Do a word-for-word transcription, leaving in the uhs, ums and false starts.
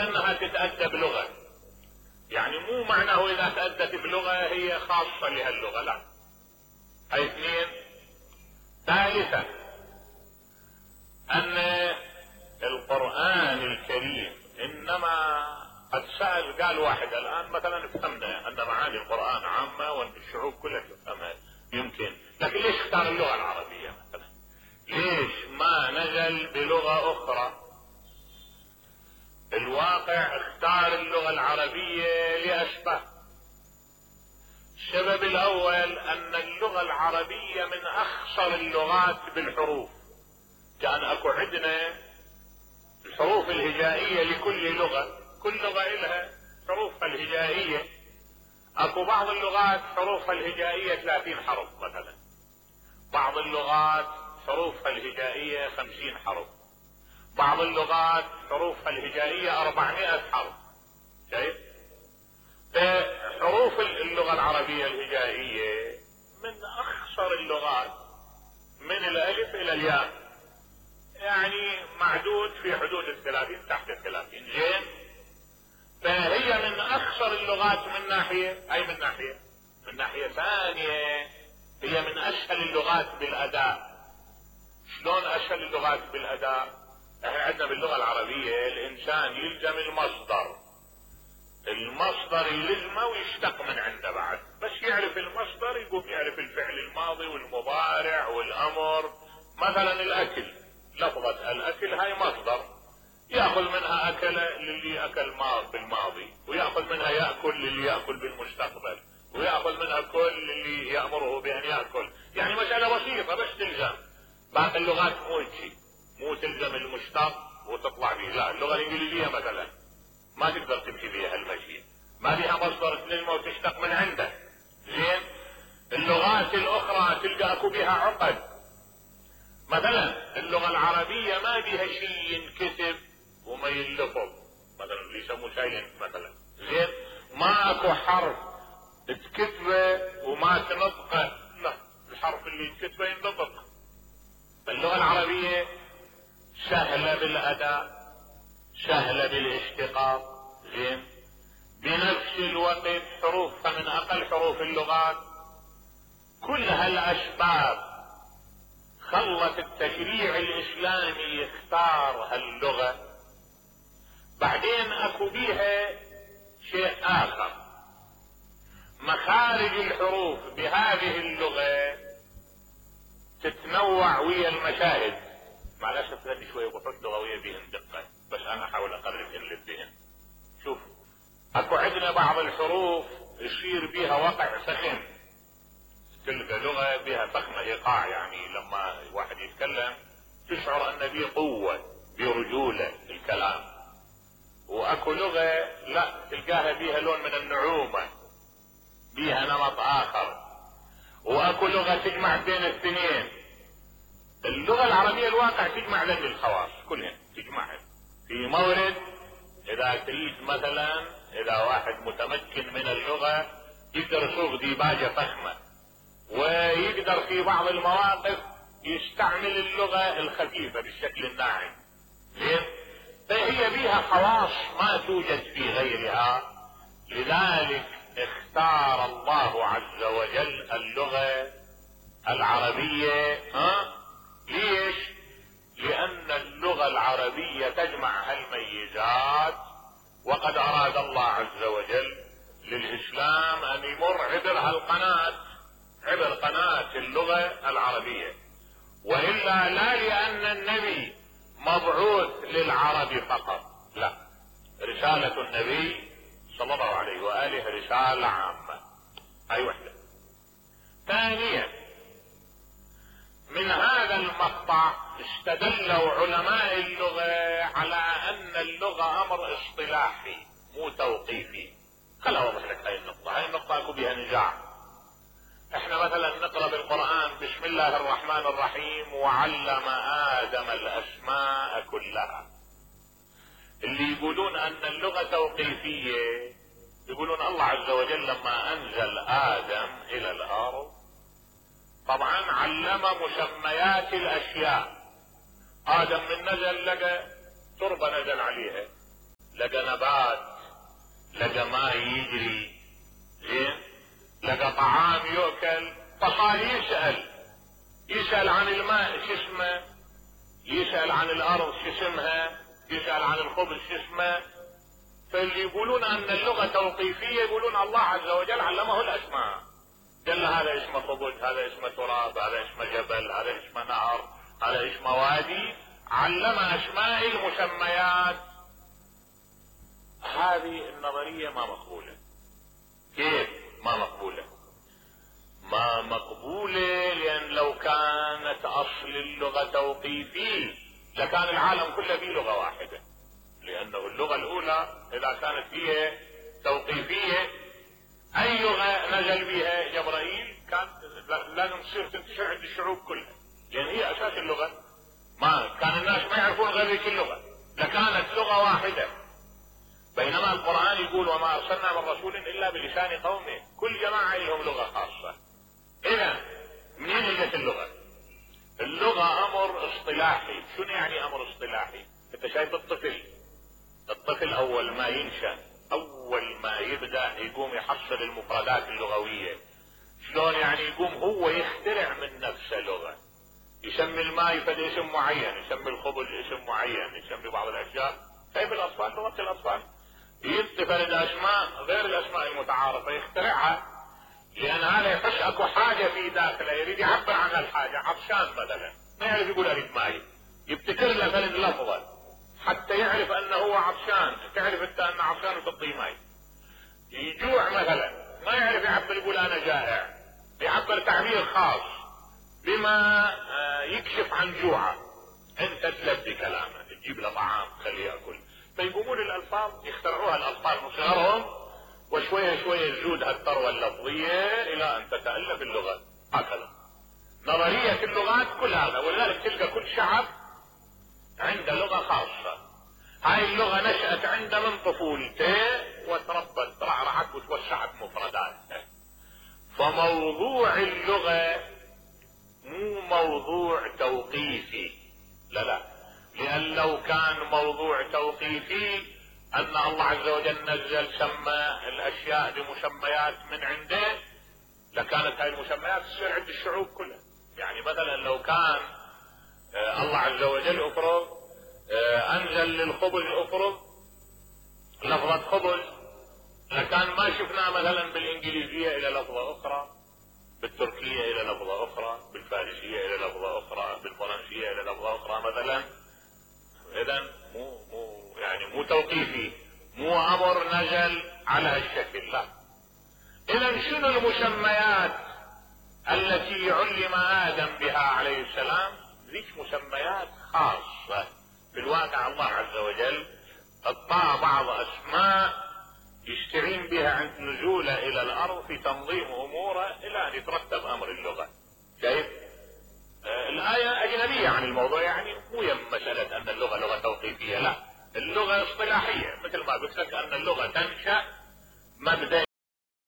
انها تتأدى بلغة، يعني مو معناه اذا تأدت بلغة هي خاصة لهاللغة، لا. هاي اثنين. ثالثا ان القرآن الكريم انما قد سأل، قال واحد الان مثلا افهمنا ان معاني القرآن عامة وان الشعوب كلها تفهمها يمكن، لكن ليش اختار اللغة العربية مثلا؟ ليش ما نزل بلغة اخرى؟ الواقع اختار اللغة العربية لأسباب. السبب الاول ان اللغة العربية من اخصر اللغات بالحروف، كان اكو عندنا الحروف الهجائية لكل لغة، كل لغة لها حروفها الهجائية. اكو بعض اللغات حروفها الهجائية ثلاثين حرف مثلا، بعض اللغات حروفها الهجائية خمسين حرف، بعض اللغات حروفها الهجائية أربعمائة حرف. شايف؟ حروف اللغة العربية الهجائية من اخصر اللغات، من الالف الى الياء، يعني معدود في حدود الثلاثين، تحت الثلاثين. زين؟ فهي من اخصر اللغات من ناحية، اي من ناحية من ناحية ثانية هي من اسهل اللغات بالاداء. شلون اسهل اللغات بالاداء؟ احنا عندنا باللغة العربية الانسان يلزم المصدر، المصدر يلزمه ويشتق من عنده بعد، بس يعرف المصدر يقوم يعرف الفعل الماضي والمضارع والامر. مثلا الاكل، لفظة الاكل هاي مصدر، ياخذ منها اكل للي اكل بالماضي، وياخذ منها ياكل للي ياكل بالمستقبل، وياخذ منها كل للي يامره بان ياكل. يعني مسألة بسيطة بس تلزم. باقي اللغات مو هيك، مو تلزم المشتق وتطلع به، لا. اللغة الانجليزية مثلا ما تقدر تمشي بها المشي، ما بها مصدر تلزمه وتشتق من عنده. زين؟ اللغات الاخرى تلقى اكو بها عقد. مثلا اللغة العربية ما بها شيء ينكتب وما ينلفظ، مثلا اللي يسموه سايلنت مثلا. زين؟ ما اكو حرف تكتبه وما تنطقه، لا، الحرف اللي تكتبه ينطق. اللغة العربية سهلة بالاداء، سهلة بالاشتقاق. زين؟ بنفس الوقت حروفها من اقل حروف اللغات. كل هالاسباب خلت التشريع الاسلامي يختار هاللغة. بعدين اكو بيها شيء اخر، مخارج الحروف بهذه اللغة تتنوع ويا المشاهد. مع الاسف هذه شوية بحوث لغوية بهن دقة، بس انا احاول اقربهن للذهن. شوف، اكو عندنا بعض الحروف يصير بيها وقع فخم، تلقى لغة بها فخمة ايقاع، يعني لما واحد يتكلم تشعر ان بيه قوة، برجولة الكلام. واكو لغة لا، تلقاها بيها لون من النعومة، بيها نمط اخر. واكو لغة تجمع بين الاثنين. اللغة العربية الواقع تجمع ذنب الخواص كلهن، تجمعهن في مورد. اذا تريد مثلا، اذا واحد متمكن من اللغة يقدر يسوق ديباجة فخمة، ويقدر في بعض المواقف يستعمل اللغة الخفيفة بالشكل الناعم. زين؟ فهي بيها خواص ما توجد في غيرها. لذلك اختار الله عز وجل اللغة العربية. ها؟ ليش؟ لان اللغة العربية تجمع هالميزات، وقد اراد الله عز وجل للاسلام ان يمر عبر هالقناة، عبر قناة اللغة العربية. والا لا لان النبي مبعوث للعرب فقط، لا، رسالة النبي صلى الله عليه وآله رسالة عامة. هاي وحدة. ثانيا، من هذا المقطع استدلوا علماء اللغة على ان اللغة امر اصطلاحي مو توقيفي. خل اوضح لك هاي النقطة، هاي النقطة اكو بها نزاع. احنا مثلا نقرأ بالقرآن بسم الله الرحمن الرحيم وعلم آدم الاسماء كلها. اللي يقولون ان اللغة توقيفية يقولون الله عز وجل لما انزل ادم الى الارض طبعا علم مسميات الاشياء. ادم من نزل لقى تربة نزل عليها، لقى لقى نبات، لقى ماء يجري، زين، لقى طعام يؤكل، فصار يسأل يسأل عن الماء شو اسمه، يسأل عن الارض شو اسمها، يسأل عن الخبز شو اسمه. فاللي يقولون ان اللغة توقيفية يقولون الله عز وجل علمه الاسماء، قال له هذا اسمه خبز، هذا اسمه تراب، هذا اسمه جبل، هذا اسمه نهر، هذا اسمه وادي، علم اسماء المسميات. هذه النظرية ما مقبولة. كيف ما مقبولة؟ ما مقبولة لان لو كانت اصل اللغة توقيفي لكان العالم كله فيه لغة واحدة، لانه اللغة الاولى اذا كانت هي توقيفية اي لغة نزل بها جبرائيل كان لازم تصير تنتشر عند الشعوب كلها، لان هي اساس اللغة. ما كان الناس ما يعرفون غير ذيك اللغة، لكانت لغة واحدة. بينما القرآن يقول وما ارسلنا من رسول الا بلسان قومه، كل جماعة لهم لغة خاصة. اذا منين اجت اللغة؟ اللغة امر اصطلاحي. شنو يعني امر اصطلاحي؟ انت شايف الطفل، الطفل اول ما ينشأ، اول ما يبدأ يقوم يحصل المفردات اللغوية. شلون يعني؟ يقوم هو يخترع من نفسه لغة، يسمي الماء فد اسم معين، يسمي الخبز اسم معين، يسمي بعض الاشياء. كيف الاطفال لغة الاطفال يتفرد اسماء غير الاسماء المتعارفة يخترعها، لان هذا يحس اكو حاجة في داخله يريد يعبر عن الحاجة. عطشان مثلا ما يعرف يقول اريد ماي، يبتكر له فلد لفظة حتى يعرف انه هو عطشان، تعرف انت ان عطشان وتعطيه ماي. يجوع مثلا ما يعرف يعبر، يقول انا جائع، يعبر تعبير خاص بما يكشف عن جوعه. انت تلبي كلامه، تجيب له طعام خليه ياكل. فيقومون الالفاظ يخترعوها الاطفال من صغرهم، وشوية شوية تزود هالثروة اللفظية الى ان تتألف اللغة. هكذا نظرية اللغات كل هذا. ولذلك تلقى كل شعب عنده لغة خاصة. هاي اللغة نشأت عنده من طفولته وتربت رعرعت وتوسعت مفرداتها. فموضوع اللغة مو موضوع توقيفي، لا لا، لان لو كان موضوع توقيفي ان الله عز وجل نزل سمى الاشياء بمسميات من عنده، لكانت هاي المسميات تصير عند الشعوب كلها. يعني مثلا لو كان آه الله عز وجل افرض آه انزل للخبز افرض لفظة خبز، لكان ما شفنا مثلا بالانجليزية الى لفظة اخرى، بالتركية الى لفظة اخرى، بالفارسية الى لفظة اخرى، بالفرنسية الى لفظة اخرى مثلا. اذا مو مو يعني مو توقيفي، مو امر نزل على هالشكل، لا. اذا شنو المسميات التي علم ادم بها عليه السلام؟ ذيك مسميات خاصة. في الواقع الله عز وجل اعطاه بعض اسماء يستعين بها عند نزوله الى الارض في تنظيم اموره الى ان يترتب امر اللغة. شايف؟ آه الآية اجنبية عن الموضوع، يعني مو يم مسألة ان اللغة لغة توقيفية، لا، اللغة اصطلاحية. مثل ما قلت لك ان اللغة تنشأ مبدئيا